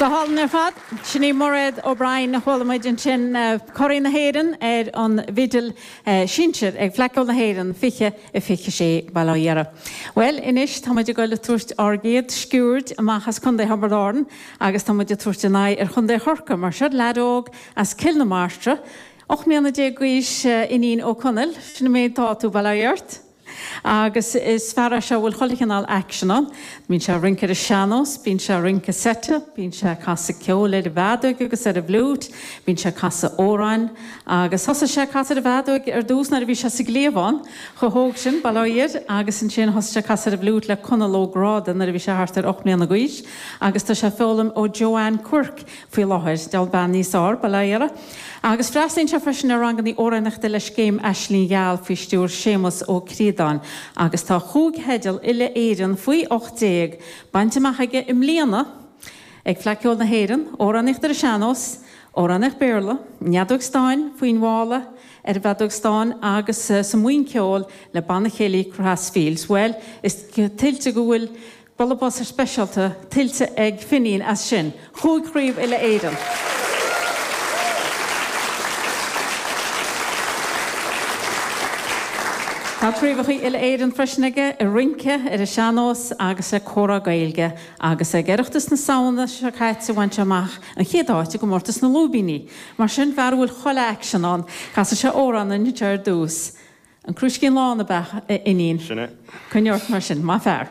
Go hálainn ar fad. Sin í Mairéad O'Brien a chuala muid ansin, curaidh na hÉireann ar an bhfidil sinsir ag Fleadh Cheoil na hÉireann 2026, bail ó Dhia uirthi. Bhuel, anois tá muid ag dul ag tabhairt ár gcéad sciuird amach as Contae Thiobraid Árann agus tá muid ag tabhairt a n-aghaidh ar Chontae Chorcaí mar seo leaid óg as Cill na Martra, 18 mbliana d'aois, Fhínín Ó Conaill, sin an méid atá tú, bail ó Dhia ort. Agus is fear é seo a bhfuil chuile chineál aicsean ann. Bíonn sé ag rince ar an sean-nós, bíonn sé ag rince seite, bíonn sé ag casadh ceoil ar an bhfeadóig agus ar an bhfliúit, bíonn sé ag casadh amhráin. Agus thosaigh sé ag casadh ar an bhfeadóig ar dtús nuair a bhí sé sa gcliabhán, chomh hóg sin, bail ó Dhia air, agus ansin thosaigh sé ag casadh ar an bhfliúit le Conall Ó Gráda nuair a bhí sé thart ar 8 mbliana d'aois. Agus tá sé ag foghlaim ó Joanne Quirke faoi láthair, diabhal bean níos fearr, bail ó Dhia uirthi. Agus freastalaíonn sé freisin ar ranganna amhránaíochta le Scéim Aisling Gheal faoi stiúir Séamus Ó Críodáin agus tá chúig theideal uile-Éireann faoi 18 bainte amach aige i mbliana ag Fleadh Cheoil na hÉireann, Amhránaíocht ar an Sean-Nós, Amhránaíocht Béarla, an Fheadóg Stáin faoin mhála ar an bhfeadóg stáin agus sa mBuíon Ceoil le Banna Céilí Crossfields. Bhuel, is tuillte go bhfuil Bualadh bos speisialta tuillte ag Finín as sin, chúig chraobh uile-Éireann. Tá craobhacha uile-Éireann freisin aige i rince ar an sean-nós agus le Comhrá Gaeilge agus ag Oireachtas na Samhna seo caite bhain sé amach an chéad áit i gcomórtas na lúibíní. Mar sin, fear a bhfuil chuile aicsean ann. Casfaidh sé amhrán dúinn anseo ar dtús. An Crúiscín Lán ab ea, a Fhinín? Sin é. Coinnigh ort mar sin. Maith fear.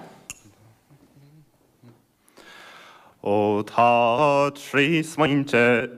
Ó tá trí smaointe.